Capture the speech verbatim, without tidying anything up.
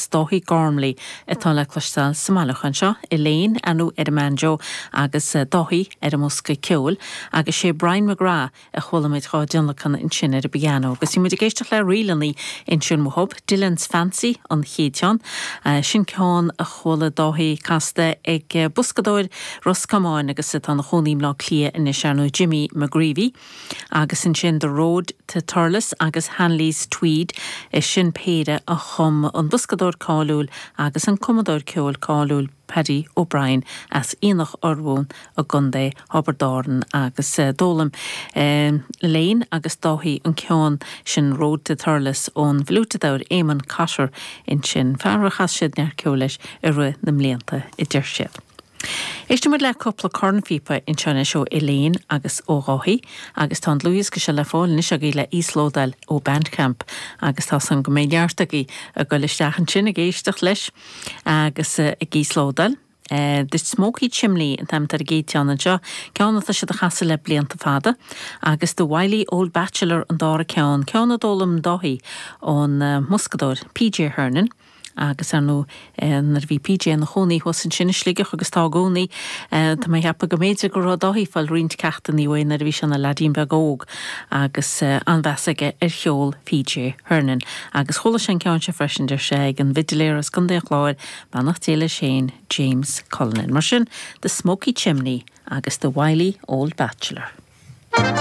agus Dáithí Gormley atá le cloisteáil sa mbailiúchán seo Elaine anú ar an mbanjo agus eh, Dáithí ar an mbosca ceoil agus sé Brian McGrath a chuala muid dhá dtionlacan ansin ar an bpianó, agus bhí muid ag éisteacht le ríleanna ansin uathu Dylan's Fancy an chéad cheann, uh, sin ceann a chuala Dáithí casta ag eh, boscadóir Ros Comáin agus atá ina chónaí i mBleá Cliath anois ar ndóigh Jimmy McGreevy, agus ansin The Road to Thurles agus Hanley's Tweed is sin péire a chum an boscadóir cáiliúil agus an cumadóir ceoil cáiliúil Paddy O'Brien as Aonach Urmhumhan i gContae Thiobraid Árann agus uh, d'fhoghlaim uh, Elaine agus Dáithí an ceann sin Road to Thurles ón bhfliúiteadóir Eamon Cotter ansin fear a chas siad neart ceoil leis i rith na mblianta a deir siad. Éistfimid le cúpla cornphíopa anseo ó Elaine agus ó Dháithí agus tá an dlúthdhiosca seo le fáil anois agaibh le íoslódáil ó Bandcamp agus tá san go méid neartaí a go isteach ansin ag éisteacht leis agus uh, ag íoslódáil. Uh, The Smoky Chimney an t-ainm ar an gcéad cheann anseo, ceann atá siad a chasadh le blianta fada, agus The Wily Old Bachelor an dara ceann ceann a d'fhoghlaim Dáithí ón uh, mboscadóir PJ Hernan. agus ar ndóigh nuair a bhí PJ ina chónaí thuas ansin i Sligeach agus tá i gcónaí Tá mé ag ceapadh go mb'fhéidir go raibh Dáithí ag fáil roinnt ceachtanna uaidh nuair a bhí sé ina leaidín beag óg agus an-mheas aige ar cheol PJ Hernan. agus chuala sé an ceann seo freisin deir sé ag an bhfidiléir as Contae an Chláir beannacht Dé leis féin James Cullinan. Mar sin The Smoky Chimney agus The Wily Old Bachelor.